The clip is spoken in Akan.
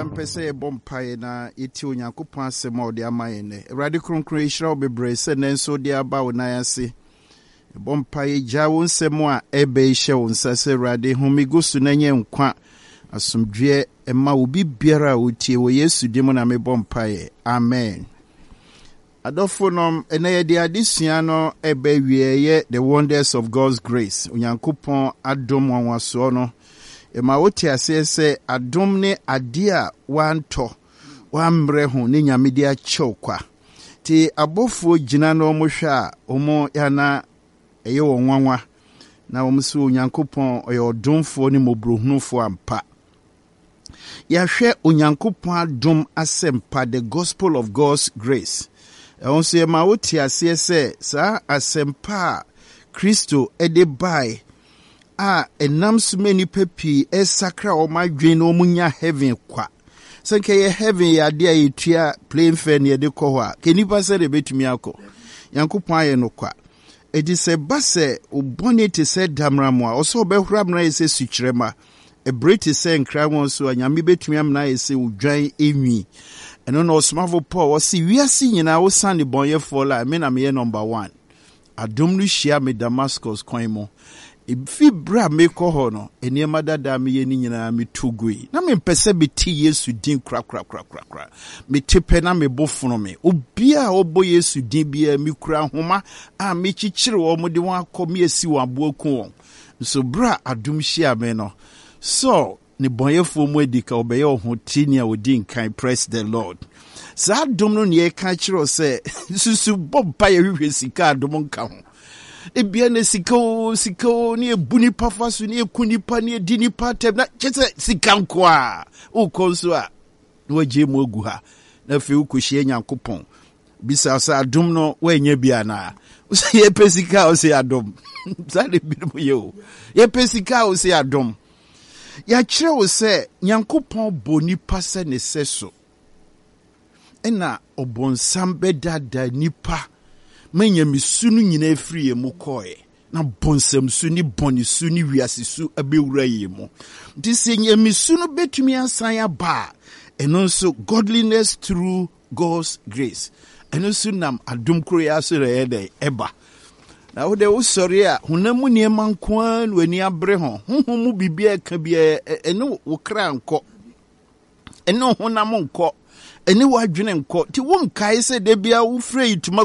Obiara mpɛ sɛ yɛbɔ mpaeɛ na yɛtie Onyankopɔn asɛm a ɔde ama yɛn nnɛ. Awurade Kronkron, yɛhyira wo bebree sɛ nnɛ nso wode aba wo nan ase. Yɛbɔ mpaeɛ gyaa wo nsɛm a ɛbɛ yi hyɛ wo nsa sɛ Awurade home gu so na nyɛ nkwa asomdwoeɛ ɛma obi biara a ɔtie wɔ Yesu din mu na mebɔ mpaeɛ. Amen. Adɔfo nom, ɛnɛ yɛde adesua no ɛbɛ wie ɛyɛ The Wonders of God's Grace, Onyankopɔn adom nwanwasoɔ no. Ɛma wote aseɛ sɛ adom ne adeɛ a wantɔ, wammrɛ ho ne Nyame de akyɛw kwa. Nti abɔfoɔ gyina na wɔn hwɛ a, wɔn yana ɛyɛ wɔn nwanwa. Na wɔn sɛ Onyankopɔn ɔyɛ ɔdomfoɔ ne mmɔborɔhunufoɔ ampa. Yɛahwɛ Onyankopɔn adom asɛmpa, the gospel of God's grace. Ɛho nso yɛma wote aseɛ sɛ saa asɛmpa a Kristo de bae a ɛnam so ma nnipa pii ɛsakra wɔn adwene na wɔn nya heaven kwa. Sɛ nka yɛ heaven yɛ adeɛ a yɛtua plane fare ne yɛde kɔ hɔ a, ka nnipa sɛ de bɛtumi akɔ. Nyankopɔn ayɛ no kwa. Enti sɛ ɛba sɛ wo bɔne te sɛ damena a, ɔsɛ ɔbɛhoro amena ayɛ sɛ sukyerɛma. Ɛbere te sɛ nkranwɔ nso a, Nyame bɛtumi amena ayɛ sɛ odwan enwi. Ɛno na ɔsomafo Paul ɔse, wiase nyinaa wosan nnebɔnyɛfoɔ la, me na meyɛ number one. Adom no hyia me Damascus kwan mu. Efi bere a mekɔ hɔ no, nneɛma dada a meyɛ no nyinaa metu gui. Na mempɛ sɛ mete Yesu din korakorakorakora. Mete pɛ na me bo fono me. Obiara a ɔbɔ Yesu din biara, mikura nhoma a mekyekyere wɔn de wɔn akɔ me asi wɔn abo aku wɔn. Nso bere a adom hyiaa me no, Saul, nnebɔneyɛfoɔ mu adi ka ɔbɛyɛ ɔhoteni a ɔdi nkan. Praise the Lord. Saa adom no nea ɛka kyerɛ wo sɛ susu bɔ mpa yɛ hwehwɛ sika adom nka ho. Ebia na sika o sika o ne ebu nipa fa so ne eku nipa ne edi nipa atɛm na kyɛ sɛ sika nko a wokɔ nso a na wagye mu agu ha na afei wokɔhyia Nyankopɔn bisa sɛ adom no woanya bi anaa sɛ yɛpɛ sika a wosɛ adom saa na ebinom yɛ o yɛpɛ sika a wosɛ adom. Yɛakyerɛ wo sɛ Nyankopɔn bɔ nipa sɛ ne sɛso, ɛna ɔbɔnsam bɛdaadaa nipa ma nyamesu no nyinaa firi yɛn mu kɔɛ, na bɔnsamsu ne bɔnesu ne wiasesu abɛwura yɛn mu. Nti sɛ nyamesu no bɛtumi asan aba a, ɛno nso godliness through God's grace. Ɛno nso nam adom koro yi ara so na ɛyɛ dɛn ɛba. Na wo de wosɔre a honam mu nneɛma nko ara na w'ani abere ho. Honhom mu biribi a ɛka biara ɛne wo kra nkɔ. Ɛne wo honam nkɔ. Ɛne w'adwene nkɔ. Nti wonkae sɛ da biara wofrɛ yi tuma